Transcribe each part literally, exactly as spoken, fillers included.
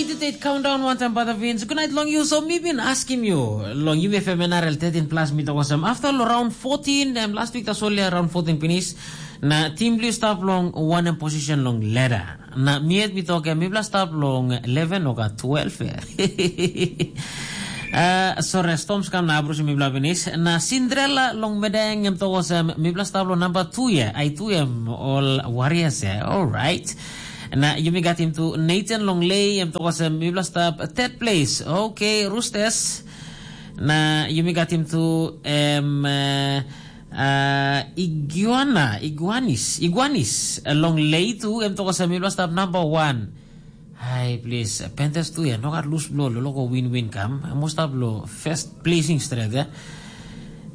Date countdown wantaim Brother Vince. Good night long you. So mi bin askim you long U F M N R L thirteen plus mi tok olsem. After lo round fourteen, em last week tasol ya round fourteen pinis. Na team blue stap long one em position long ladder. Na mi yet mi tok em mi bla stap long eleven o ka twelve ya. Uh, sorry, storms kam na abrusi mi bla pinis. Na Cinderella long medeng em tok olsem mi bla stap long number two ya. Ai tu em all warriors ya. All right. Na yumi gat him tu Nathan long lei em tok olsem mi bla stap third place. Okay, Roosters. Na yumi gat him tu em uh, uh, Iguana, Iguanis, Iguanis. Uh, long lei tu em tok olsem mi bla stap number one. Hai, please, Panthers tu ya, no gat lose blow lo logo win-win kam. Em must have lo first placing straight ya.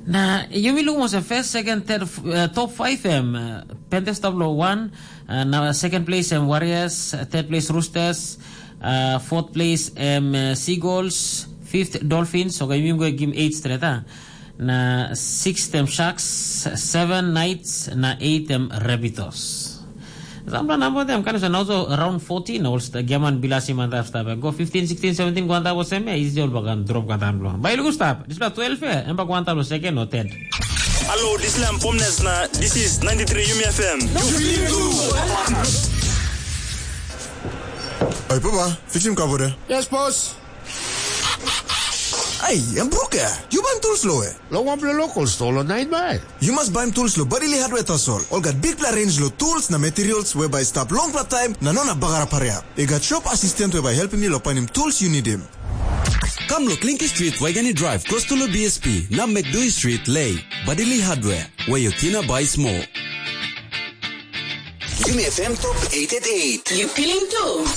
Na yumi lukim olsem first, second, third, uh, top five em uh, Panthers stap lo one, uh, na second place em Warriors, uh, third place Roosters, uh, fourth place em uh, Seagulls, fifth Dolphins. Okay, yumi go gim eight straight ah. Na sixth em Sharks, seven Knights, na eight em Rabbitohs. Sampela namba tem kan sa nauso round fourteen na olsta giaman bilasi mantap stap. Go fifteen, sixteen, seventeen go antap olsem ya isi ol bakan drop katan blo. Bai lugu stap. Dispela twelve ya, em bak go antap lo second o third. Hello, this is Lam Pomnes na this is ninety-three Yumi F M. Oi papa, fixim kabore. Yes, boss. Ai, em bruk ya. Yu baim tools lo e. Lo wanpela local store lo Nine Mile. Yu mas baim tools lo Badili Hardware tasol. Ol gat bikpela range lo tools na materials we bai stap longpela taim na no na bagarap hariap. I gat shop assistant we bai helpim yu lo painim tools yu nidim. Kam lo Clinky Street, Waigani Drive, close to lo B S P, na McDui Street, Lei. Badili Hardware, where your tina buy small. Yumi F M Top eight eight eight. You feeling too?